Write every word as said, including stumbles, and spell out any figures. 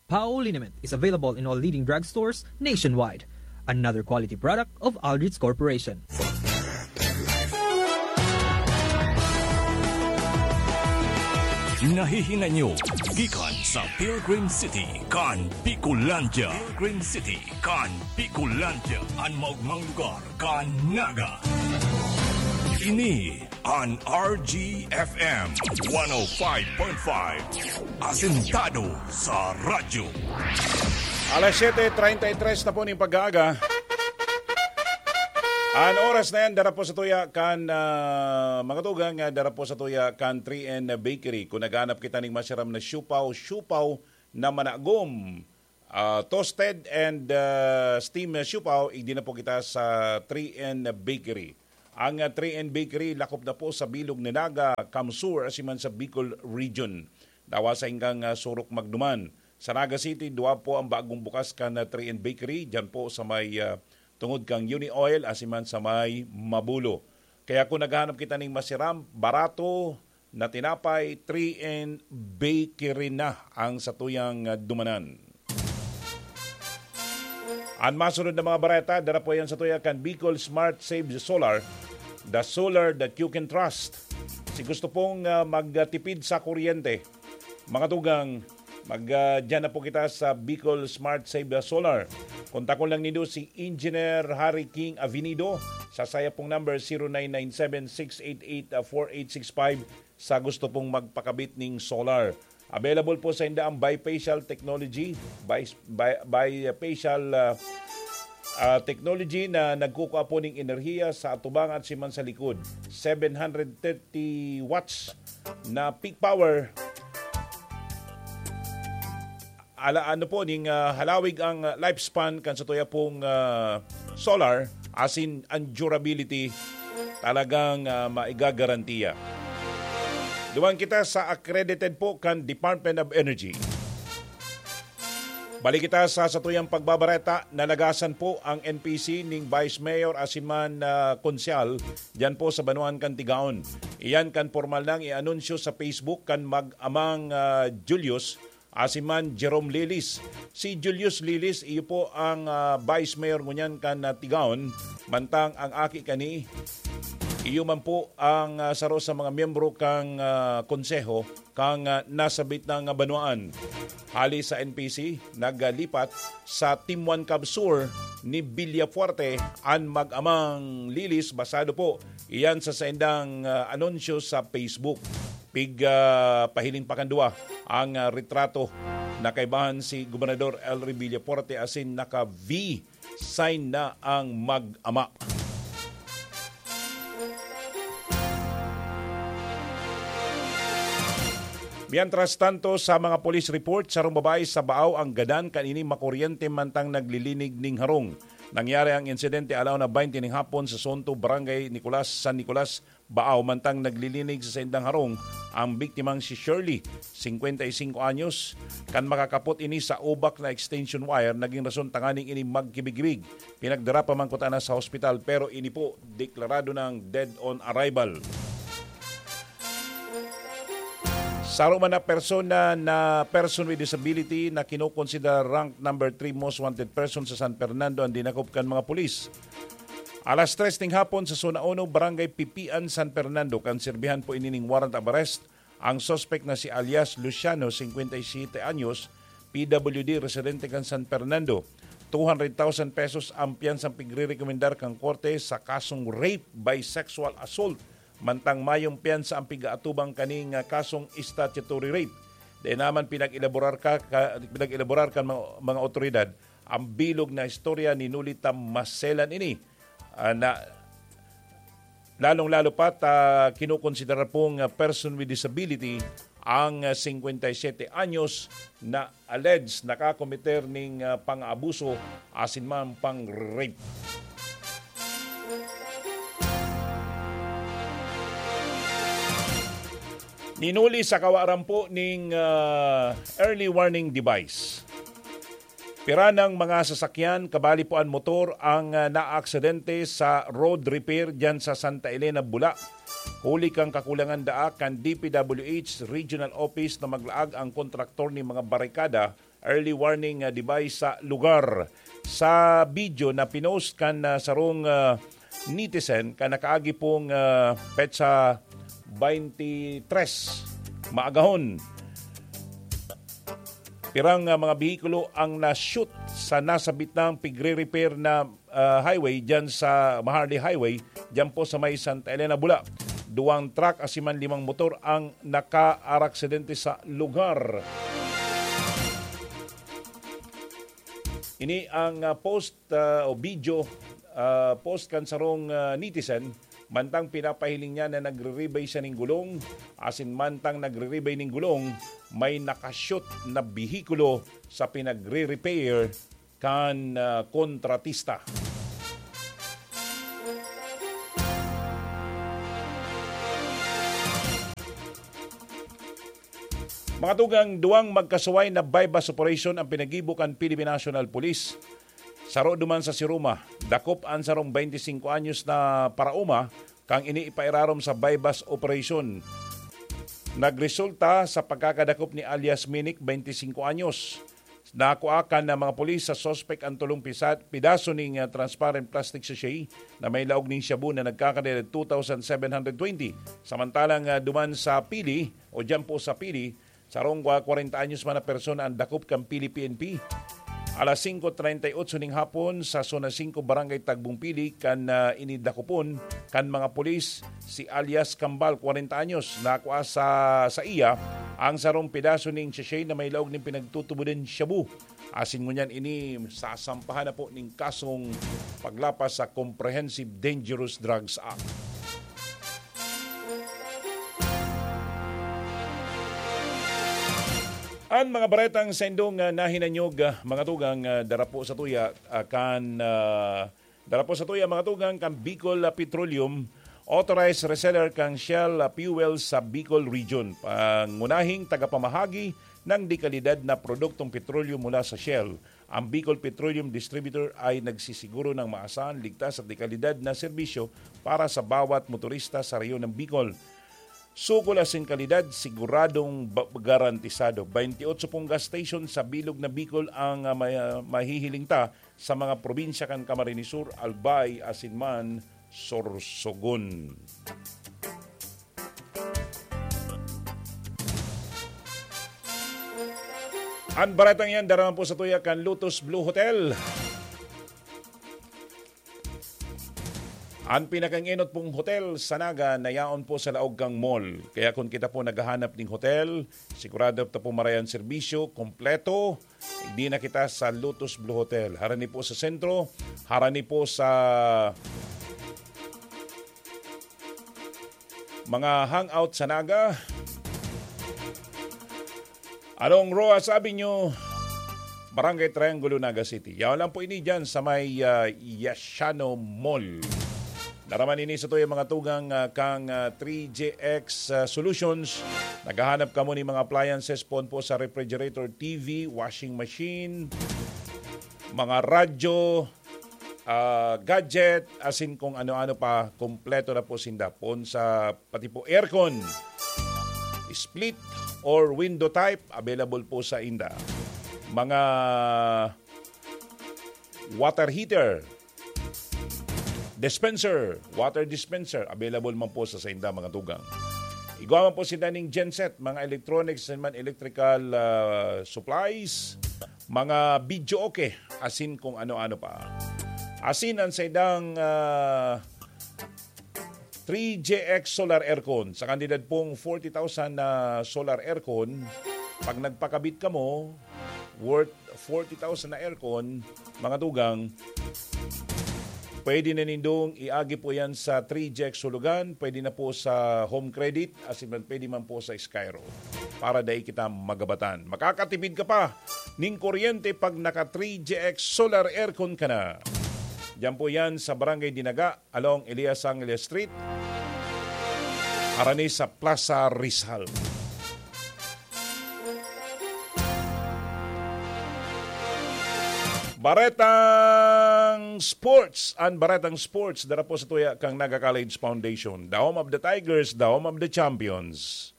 Pao liniment is available in all leading drugstores nationwide. Another quality product of Aldrich Corporation. Nahihinay nyo gikan sa Pilgrim City kan Bicolandia. Pilgrim City kan Bicolandia, an maugmang lugar kan Naga. Ini an R G F M one oh five point five, asentado sa radyo. Alas siyete treinta y tres na po ning pag-aaga. An oras na yan, dara po sa tuya kan, ah, mga tugang, ah, dara po sa tuya kan three N Bakery. Kung naghahanap kita ning masiram na siupaw, siupaw na managom, ah, toasted and, ah, steam na siupaw, igdi na po kita sa three N Bakery. Ang, ah, three N Bakery lakop na po sa bilog na Naga, Kamsur, asiman sa Bicol Region. Dawa sa hinggang, ah, surok magduman. Sa Naga City, duwa po ang bagong bukas kan, ah, three N Bakery, dyan po sa may, ah, tungod kang Uni Oil, asiman sa may Mabulo. Kaya kung naghahanap kita ning masiram, barato na tinapay, three N Bakery na ang satuyang, ah, dumanan. An masunod na mga bareta, dara po yan sa tuya kan Bicol Smart Save Solar, the solar that you can trust. Si gusto pong, ah, magtipid sa kuryente, mga tugang, mag, ah, dyan na po kita sa Bicol Smart Save Solar. Kontakon lang nindo si Engineer Harry King Avenido sa saya pong number, zero nine nine seven six eight eight four eight six five. Sa gusto pong magpakabit ning solar. Available po sa inda ang bifacial technology, bi-, bi-, bifacial, ah, ah, technology na nagkukua po ning enerhiya sa atubang at siman sa likod. Seven hundred thirty watts na peak power. Ala, ano po, ning, ah, halawig ang, ah, lifespan kan satuya pong, ah, solar, asin ang durability talagang, ah, maigagarantiya. Duman kita sa accredited po kan Department of Energy. Balik kita sa satuyang pagbabareta, nalagasan po ang N P C ning Vice Mayor asin man, ah, Konsehal diyan po sa banwaan kan Tigaon. Iyan kan pormal nang i-anunsyo sa Facebook kan mag-amang, ah, Julius asin man Jerome Lilis. Si Julius Lilis, iyo po ang, ah, Vice Mayor ngunyan kan, ah, Tigaon, mantang ang aki kani, iyo man po ang, ah, saro sa mga miyembro kang, ah, konseho kang, ah, nasabit na nga banwaan. Hali sa N P C, naglipat sa Team One Cab Sur ni Villafuerte an mag-amang Lilis, basado po iyan sa saindang, ah, anunsyo sa Facebook. Pig, ah, pahiling pa kan duwa ang, ah, retrato na kaibahan si Gobernador Elry Villafuerte asin naka-V sign na ang mag-ama. Mientras tanto, sa mga police report, sarong babae sa Baao ang gadan kan ini makuryente mantang naglilinig ning harong. Nangyari ang insidente alauna baynte ning hapon sa Sonto, Barangay Nicolas, San Nicolas, Baao, mantang naglilinig sa saindang harong ang biktimang si Shirley, singkwenta y singko anyos. Kan makakapot ini sa ubak na extension wire, naging rason tanganing ini magkibig-kibig. Pinagdara pa man kutana sa hospital, pero ini po deklarado nang dead on arrival. Saro man na persona na person with disability na kinokonsidera rank number three most wanted person sa San Fernando ang dinakop kan mga pulis. Alas tres ning hapon sa Zona Uno, Barangay Pipian, San Fernando, kan sirbihan po ini ning warrant of arrest ang suspek na si alias Luciano, singkwenta y siyete anyos, P W D, residente kan San Fernando. Two hundred thousand pesos ang piyansang pigrerekomendar kan korte sa kasong rape by sexual assault, mantang mayong piyansa ang pigaatubang kaning, ah, kasong statutory rape. Dai naman pinag-elaborar ka, ka, pinag-elaborar kan mga, mga otoridad ang bilog na istorya ni Nolita Maselan ini, ah, na lalong-lalo pa ta kinokonsidera pong, ah, person with disability ang, ah, singkwenta y siyete anyos na alleged nakakometer ning, ah, pang-aabuso asin man pang-rape. Minuli sa kawaran po ning, ah, early warning device. Pira nang mga sasakyan, kabali po an motor, ang, ah, naaksidente sa road repair diyan sa Santa Elena, Bula. Huli kan kakulangan daa kan D P W H Regional Office na maglaag ang kontraktor nin mga barikada early warning, ah, device sa lugar. Sa video na pinost kan, ah, sarong, ah, netizen kan nakaagi pong, ah, petsa twenty-three, maagahon, pirang, ah, mga behikulo ang na-shoot sa nasabit nang pigre-repair na, ah, highway diyan sa Maharli Highway, diyan po sa may Santa Elena, Bula. Duwang truck asin man limang motor ang nakaaksidente sa lugar. Ini ang, ah, post, ah, o video, ah, post kan sarong, ah, netizen, mantang pinapahiling niya na nagre-rebay siya ning gulong, asin mantang nagre-rebay ning gulong, may nakashoot na behikulo sa pinagre-repair kan, ah, kontratista. Mga tugang, duwang magkasuway na buy-bust operation ang pinagibo kan Philippine National Police. Saro duman sa Siruma, dakop an sarong twenty-cinco anyos na paraoma, kan ini ipairarom sa buy-bust operation. Nagresulta sa pagkakadakop ni alias Minik, twenty-cinco anyos. Nakua kan mga pulis sa suspek ang tulong pisa-, pidaso ning, ah, transparent plastic sachet na may laog ning shabu na nagkakadala two thousand seven hundred twenty. Samantalang, ah, duman sa Pili, o diyan po sa Pili, sarong kwa-, kwarenta anyos man na persona ang dakop kan Pili P N P. Alas singko treinta y ocho ning hapon, sa Zona singko, Barangay Tagbong Pili, kan, ah, ini dakopon kan mga pulis si alias Kambal, kwarenta anyos. Nakua sa, sa iya ang sarong pedaso ning sachet na may laog nin pinagtutubodan shabu. Asin ngunyan ini sasampahan na po ning kasong paglapas sa Comprehensive Dangerous Drugs Act. An mga baretang saindong, ah, nahinanyog, ah, mga tugang, ah, dara po sa tuya, ah, kan, ah, dara po sa tuya, mga tugang, kan Bicol, ah, Petroleum, authorized reseller kan Shell, ah, fuel sa Bicol Region. Pangunahing tagapamahagi ng dekalidad na produktong petrolyo mula sa Shell. Ang Bicol Petroleum Distributor ay nagsisiguro ng maasahan, ligtas at dekalidad na serbisyo para sa bawat motorista sa rehiyon ng Bicol. Sukol asin kalidad, siguradong ba-, garantisado. Twenty-eight pong gas station sa bilog na Bicol ang, ah, ma-, mahihiling ta sa mga probinsya kan Camarines Sur, Albay, asin man Sorsogon. An baretang yan, dara man po sa tuya kan Lotus Blue Hotel. An pinakaenot pong hotel sa Naga na yaon po sa laog kan mall. Kaya kung kita po naghahanap ning hotel, sigurado ta po maray an serbisyo, kompleto. Igdi na kita sa Lotus Blue Hotel. Harani po sa sentro, harani po sa mga hangout sa Naga. Along Roxas Avenue, Barangay Triangulo, Naga City. Yaon lang po ini dyan sa may, ah, Yasiano Mall. Dara man ini sa tuya, mga tugang, ah, kan, ah, three J X, ah, Solutions. Naghahanap kamo ni mga appliances, poon po sa refrigerator, T V, washing machine, mga radyo, ah, gadget, asin kung ano-ano pa, kompleto na po sinda. Poon sa pati po aircon, split or window type, available po sa inda. Mga water heater, dispenser, water dispenser, available man po sa sainda, mga tugang. Igwa man po sinda ning genset, mga electronics and man electrical, ah, supplies, mga video okay, asin kung ano-ano pa. Asin ang saindang, ah, three J X solar aircon. Sa kantidad pong forty thousand na solar aircon, pag nagpakabit kamo, worth forty thousand na aircon, mga tugang, pwede na nindong iagi po yan sa three J X Sulugan, pwede na po sa Home Credit, asin man pwede man po sa Skyro. Para dai kita magabatan. Makakatipid ka pa ning kuryente pag naka three J X solar aircon ka na. Diyan po yan sa Barangay Dinaga, along Elias Angeles Street, harani sa Plaza Rizal. Baretang Sports, an Baretang Sports, dara po sa tuya kang Naga College Foundation, the home of the Tigers, the home of the champions.